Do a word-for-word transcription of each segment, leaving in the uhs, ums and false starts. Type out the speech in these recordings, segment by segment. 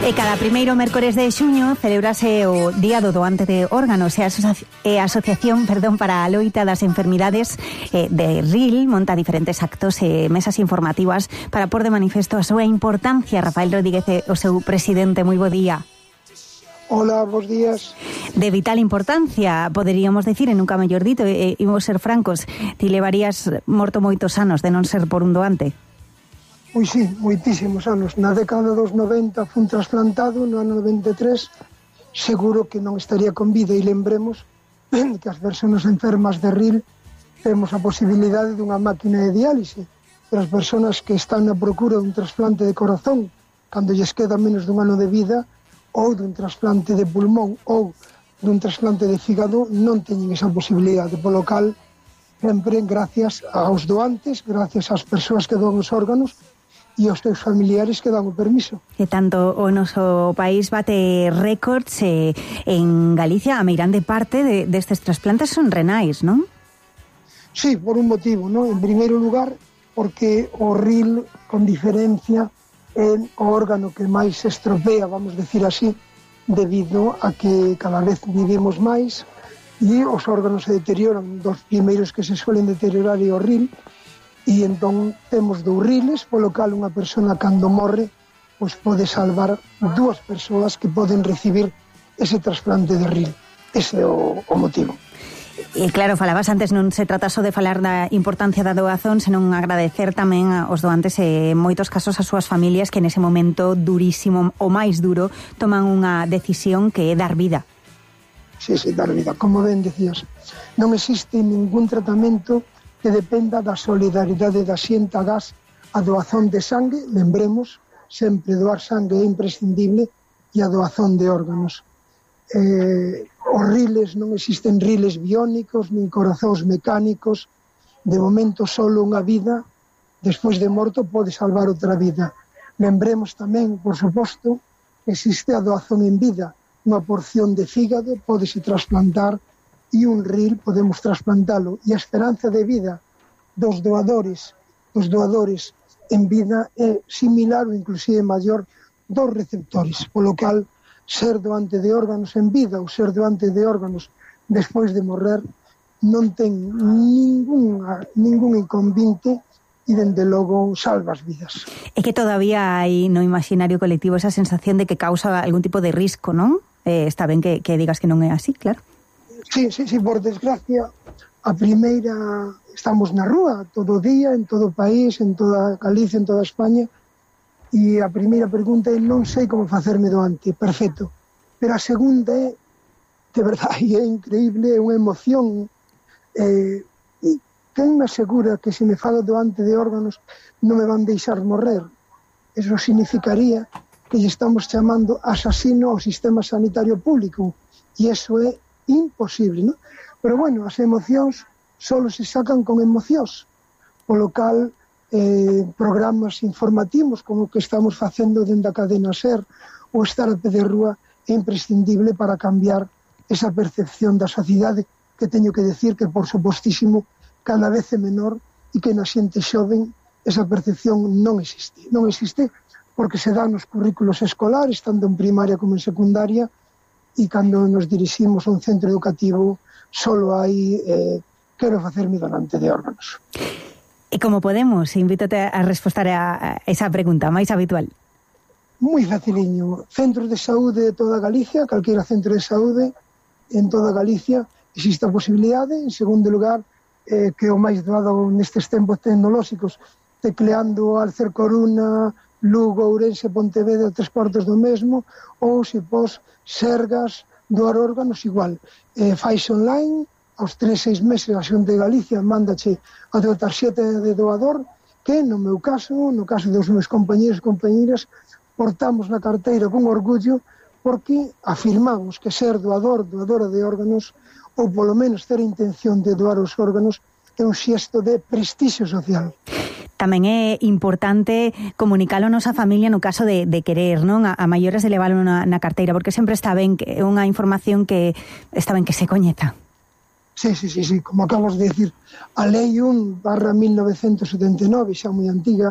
E cada primeiro mércores de xuño celebrase o Día do Doante de Órganos e a, asoci e a Asociación perdón, para a Loita das Enfermidades eh, de R I L monta diferentes actos e mesas informativas para pôr de manifesto a súa importancia. Rafael Rodríguez, o seu presidente, moi bo día. Hola, bons días. De vital importancia, poderíamos decir, en nunca mellor dito, e imos ser francos, ti levarías morto moitos anos de non ser por un doante. Pois sí, moitísimos anos. Na década dos noventa fun trasplantado, no ano noventa e tres, seguro que non estaría con vida, e lembremos que as persoas enfermas de R I L temos a posibilidade dunha máquina de diálise, pero as persoas que están na procura dun trasplante de corazón, cando lles queda menos dun ano de vida, ou dun trasplante de pulmón, ou dun trasplante de fígado, non teñen esa posibilidade, polo cal, sempre gracias aos doantes, gracias ás persoas que doan os órganos, e os teus familiares que dan o permiso. E tanto o noso país bate récords eh, en Galicia, a meirande parte de, destes trasplantes son renais, non? Sí, por un motivo, non? En primeiro lugar, porque o R I L, con diferencia, é o órgano que máis se estropea, vamos decir así, debido a que cada vez vivimos máis e os órganos se deterioran. Dos primeiros que se suelen deteriorar é o R I L, e entón temos dous R I Ls, polo cal unha persona cando morre pois pode salvar dúas persoas que poden recibir ese trasplante de R I L. Ese é o, o motivo. E claro, falabas antes, non se trata só de falar da importancia da doazón, senón agradecer tamén aos doantes e en moitos casos as súas familias que nese momento durísimo, o máis duro, toman unha decisión que é dar vida. Sí, sí, dar vida. Como ben decías, non existe ningún tratamento que dependa da solidaridade da xente agás a doazón de sangue. Lembremos, sempre doar sangue é imprescindible, e a doazón de órganos. Eh, os R I Ls non existen R I Ls biónicos, nin corazóns mecánicos. De momento, solo unha vida, despois de morto, pode salvar outra vida. Lembremos tamén, por suposto, que existe a doazón en vida. Unha porción de fígado pódese trasplantar e un R I L podemos trasplantalo, e a esperanza de vida dos doadores dos doadores en vida é similar ou inclusive maior dos receptores, polo cal ser doante de órganos en vida ou ser doante de órganos despois de morrer non ten ningún, ningún inconvinte e dende logo salva as vidas. É que todavía hai no imaginario colectivo esa sensación de que causa algún tipo de risco, non? Eh, está ben que, que digas que non é así, claro. Sí, sí, sí, por desgracia, a primeira, estamos na rúa todo o día, en todo o país, en toda Galicia, en toda España, e a primeira pregunta é: non sei como facerme doante, perfecto. Pero a segunda é, de verdade, é increíble, é unha emoción. Eh, e quen me asegura que se me fago doante de órganos non me van deixar morrer? Eso significaría que lle estamos chamando asasino ao sistema sanitario público, e eso é imposible, non? Pero bueno, as emocións solo se sacan con emocións, polo cal eh, programas informativos como o que estamos facendo dentro da cadena SER ou estar a pé de rúa é imprescindible para cambiar esa percepción da sociedade, que teño que decir que, por supostísimo, cada vez é menor, e que na xente xoven esa percepción non existe. Non existe porque se dá nos currículos escolares, tanto en primaria como en secundaria, e cando nos diriximos a un centro educativo solo hai eh, quero facerme donante de órganos. E como podemos? Invítate a responder a esa pregunta máis habitual. Moi faciliño. Centros de saúde de toda Galicia, calquera centro de saúde en toda Galicia existe a posibilidade. En segundo lugar, eh, que o máis doado nestes tempos tecnolóxicos, tecleando Alcer Coruna, Lugo, Ourense, Pontevedra, tres cuartos do mesmo, ou se pos Sergas, doar órganos, igual. Eh, fais online, aos tres, seis meses a Xunta de Galicia mándache a tua tarxeta de doador, que no meu caso, no caso dos meus compañeros e compañeras, portamos na carteira con orgullo, porque afirmamos que ser doador, doadora de órganos, ou polo menos ter a intención de doar os órganos, é un xesto de prestixio social. Tamén é importante comunicalo a nosa familia no caso de, de querer, non? A, a maiores de leválo na, na carteira, porque sempre está ben que é unha información que está ben que se coñeza. Sí, sí, sí, sí, como acabas de decir, a Lei un barra mil novecentos setenta e nove, xa moi antiga,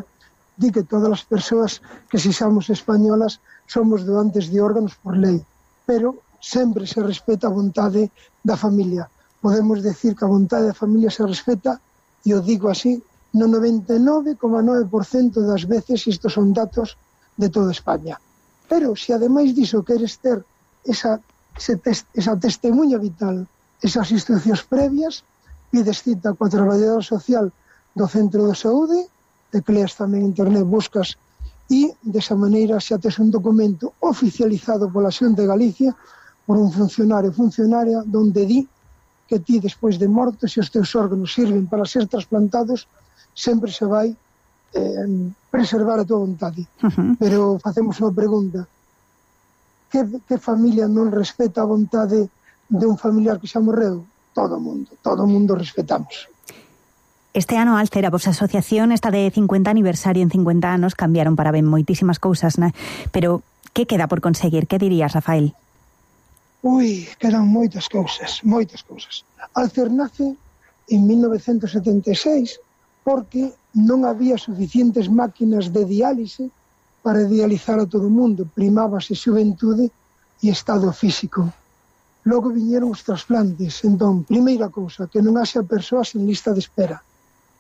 di que todas as persoas que sexamos españolas somos doantes de órganos por lei, pero sempre se respeta a vontade da familia. Podemos decir que a vontade da familia se respeta, e o digo así, no noventa e nove coma nove por cento das veces. Estos son datos de toda España. Pero, se ademais diso queres ter esa, ese test, esa testemunha vital, esas instruccións previas, pides cita coa traballadora social do centro de saúde, tecleas tamén en internet, buscas, e desa maneira xa tes un documento oficializado pola Xunta de Galicia por un funcionario funcionaria donde di que ti, despois de morto, se os teus órganos sirven para ser trasplantados, sempre se vai eh, preservar a tua vontade. Uh-huh. Pero facemos unha pregunta: que, que familia non respeta a vontade de un familiar que xa morreu? Todo o mundo, todo o mundo respetamos. Este ano, Alcer, a vosa asociación está de cincuenta aniversario. En cincuenta anos cambiaron para ben moitísimas cousas, né? Pero que queda por conseguir? Que dirías, Rafael? Ui, quedan moitas cousas, moitas cousas. Alcer nace en mil novecentos setenta e seis porque non había suficientes máquinas de diálise para dializar a todo o mundo. Primábase xuventude e estado físico. Logo viñeron os trasplantes. Entón, primeira cousa, que non haxa persoas en lista de espera.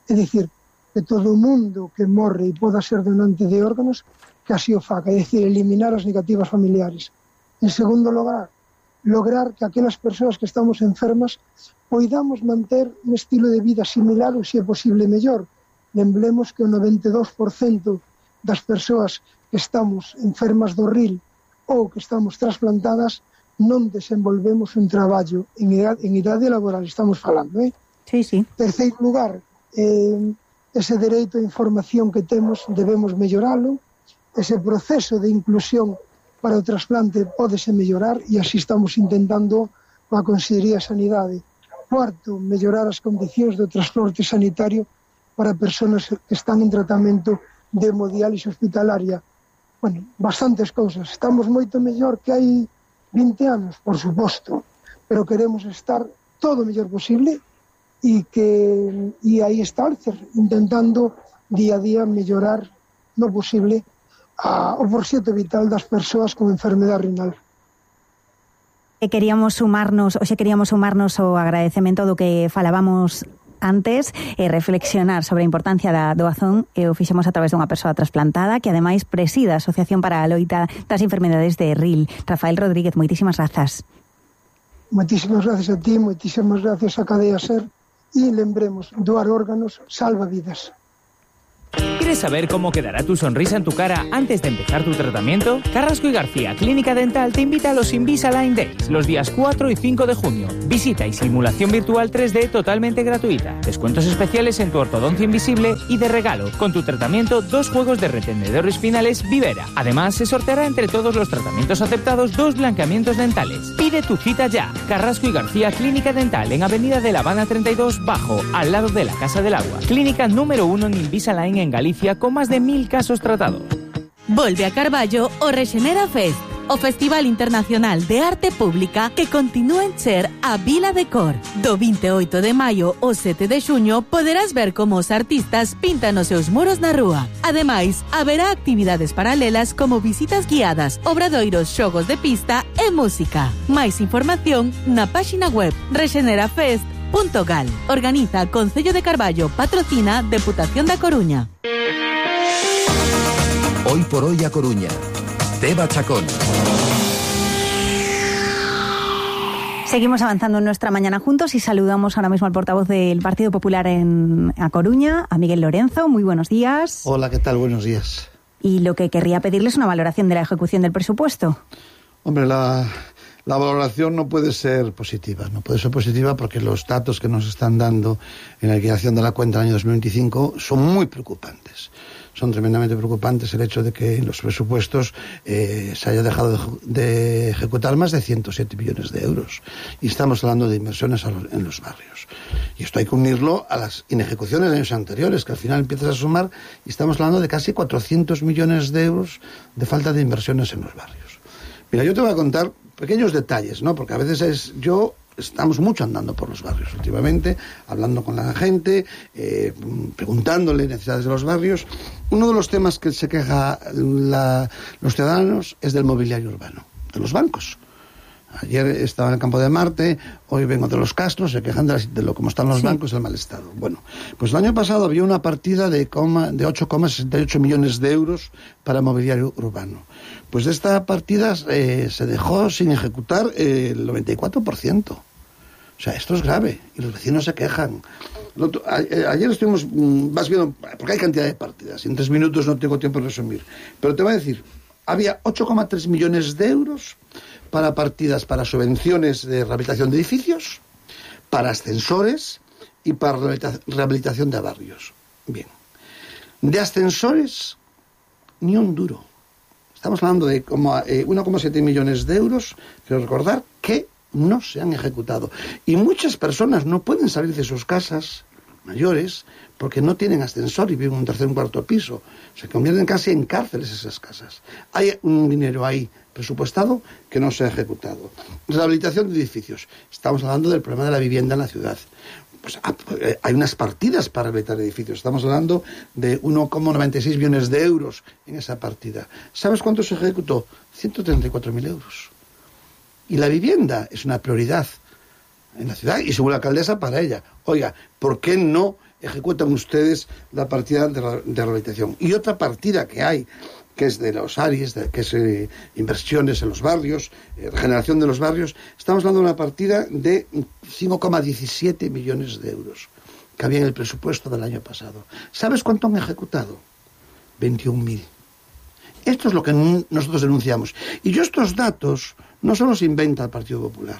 É dicir, que todo o mundo que morre e poda ser donante de órganos, que así o faga. É dicir, eliminar as negativas familiares. En segundo lugar, lograr que aquelas persoas que estamos enfermas poidamos manter un estilo de vida similar ou, se é posible, mellor. Lembremos que o noventa e dous por cento das persoas que estamos enfermas do R I L ou que estamos trasplantadas non desenvolvemos un traballo en idade, en idade laboral, estamos falando, eh? Sí, sí. Terceiro lugar, eh, ese dereito a información que temos debemos melloralo, ese proceso de inclusión para o trasplante pódese mellorar, e así estamos intentando a Consellería de Sanidade. Cuarto, mellorar as condicións do transporte sanitario para persoas que están en tratamento de hemodiálise hospitalaria. Bueno, bastantes cousas. Estamos moito mellor que hai vinte anos, por suposto, pero queremos estar todo o mellor posible, e que e aí está Alcer, intentando día a día mellorar no posible a, o proxecto vital das persoas con enfermedade renal. E queríamos sumarnos, hoxe queríamos sumarnos ao agradecemento do que falábamos antes, e reflexionar sobre a importancia da doazón, e o fixemos a través dunha persoa trasplantada que ademais preside a Asociación para a Loita das Enfermedades de R I L. Rafael Rodríguez, moitísimas grazas. Moitísimas gracias a ti, moitísimas gracias a Cadea Ser, e lembremos, doar órganos salva vidas. ¿Quieres saber cómo quedará tu sonrisa en tu cara antes de empezar tu tratamiento? Carrasco y García Clínica Dental te invita a los Invisalign Days los días cuatro y cinco de junio. Visita y simulación virtual tres D totalmente gratuita. Descuentos especiales en tu ortodoncia invisible y de regalo, con tu tratamiento, dos juegos de retenedores finales Vivera. Además, se sorteará entre todos los tratamientos aceptados dos blanqueamientos dentales. Pide tu cita ya. Carrasco y García Clínica Dental en Avenida de La Habana treinta y dos Bajo, al lado de la Casa del Agua. Clínica número uno en Invisalign en Galicia, con más de mil casos tratados. Volve a Carballo o Rexenera Fest, o Festival Internacional de Arte Pública que continúa en ser a Vila de Cor. Do vinte e oito de maio ao sete de xuño poderás ver como os artistas pintan os seus muros na rúa. Ademais, haberá actividades paralelas como visitas guiadas, obradoiros, xogos de pista e música. Máis información na páxina web rexenerafest punto gal. Organiza Concello de Carballo, patrocina Deputación da Coruña. Hoy por hoy a Coruña. Deva Chacón. Seguimos avanzando en nuestra mañana juntos y saludamos ahora mismo al portavoz del Partido Popular en A Coruña, a Miguel Lorenzo. Muy buenos días. Hola, ¿qué tal? Buenos días. Y lo que querría pedirles es una valoración de la ejecución del presupuesto. Hombre, la... La valoración no puede ser positiva, no puede ser positiva porque los datos que nos están dando en la liquidación de la cuenta del año dos mil veinticinco son muy preocupantes. Son tremendamente preocupantes el hecho de que en los presupuestos eh, se haya dejado de, de ejecutar más de ciento siete millones de euros. Y estamos hablando de inversiones a los, en los barrios. Y esto hay que unirlo a las inejecuciones de años anteriores, que al final empiezas a sumar, y estamos hablando de casi cuatrocientos millones de euros de falta de inversiones en los barrios. Mira, yo te voy a contar pequeños detalles, ¿no? Porque a veces es yo estamos mucho andando por los barrios últimamente, hablando con la gente, eh, preguntándole necesidades de los barrios. Uno de los temas que se queja la, los ciudadanos es del mobiliario urbano, de los bancos. Ayer estaba en el Campo de Marte, hoy vengo de los Castros, se quejan de, la, de lo como están los sí. bancos y el mal estado. Bueno, pues el año pasado había una partida de, de ocho coma sesenta y ocho millones de euros para mobiliario urbano. Pues de esta partida eh, se dejó sin ejecutar eh, el noventa y cuatro por ciento. O sea, esto es grave y los vecinos se quejan. Otro, a, a, ayer estuvimos, vas viendo, porque hay cantidad de partidas, y en tres minutos no tengo tiempo de resumir, pero te voy a decir, había ocho coma tres millones de euros para partidas para subvenciones de rehabilitación de edificios, para ascensores y para rehabilitación de barrios. Bien. De ascensores, ni un duro. Estamos hablando de eh, uno coma siete millones de euros, quiero recordar, que no se han ejecutado. Y muchas personas no pueden salir de sus casas mayores porque no tienen ascensor y viven en un tercer o un cuarto piso. Se convierten casi en cárceles esas casas. Hay un dinero ahí presupuestado que no se ha ejecutado. Rehabilitación de edificios. Estamos hablando del problema de la vivienda en la ciudad. Pues hay unas partidas para rehabilitar edificios. Estamos hablando de uno coma noventa y seis millones de euros en esa partida. ¿Sabes cuánto se ejecutó? ciento treinta y cuatro mil euros. Y la vivienda es una prioridad en la ciudad y según la alcaldesa para ella. Oiga, ¿por qué no ejecutan ustedes la partida de, de rehabilitación? Y otra partida que hay, que es de los A R I S, de, que es eh, inversiones en los barrios, eh, regeneración de los barrios, estamos hablando de una partida de cinco coma diecisiete millones de euros que había en el presupuesto del año pasado. ¿Sabes cuánto han ejecutado? veintiún mil. Esto es lo que nosotros denunciamos. Y yo estos datos no solo se inventa el Partido Popular.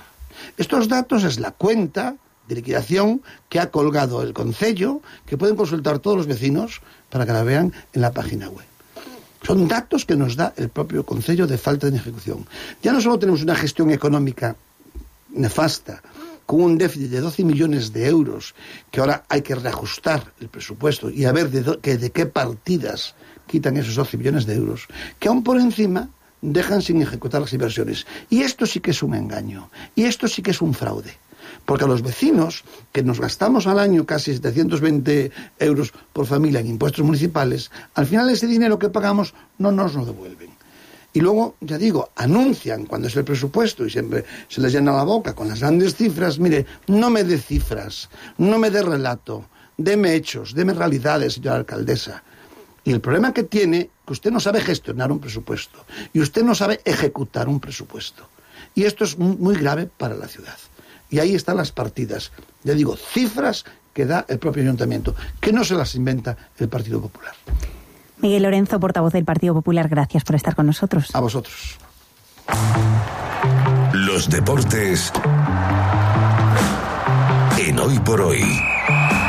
Estos datos es la cuenta de liquidación que ha colgado el Concello, que pueden consultar todos los vecinos para que la vean en la página web. Son datos que nos da el propio Concello de falta de ejecución. Ya no solo tenemos una gestión económica nefasta, con un déficit de doce millones de euros, que ahora hay que reajustar el presupuesto y a ver de, do, que, de qué partidas quitan esos doce millones de euros, que aún por encima dejan sin ejecutar las inversiones. Y esto sí que es un engaño, y esto sí que es un fraude. Porque a los vecinos, que nos gastamos al año casi setecientos veinte euros por familia en impuestos municipales, al final ese dinero que pagamos no nos lo devuelven. Y luego, ya digo, anuncian cuando es el presupuesto y siempre se les llena la boca con las grandes cifras. Mire, no me dé cifras, no me dé relato, deme hechos, deme realidades, señora alcaldesa. Y el problema que tiene, que usted no sabe gestionar un presupuesto y usted no sabe ejecutar un presupuesto. Y esto es muy grave para la ciudad. Y ahí están las partidas, ya digo, cifras que da el propio ayuntamiento, que no se las inventa el Partido Popular. Miguel Lorenzo, portavoz del Partido Popular, gracias por estar con nosotros. A vosotros. Los deportes en Hoy por Hoy.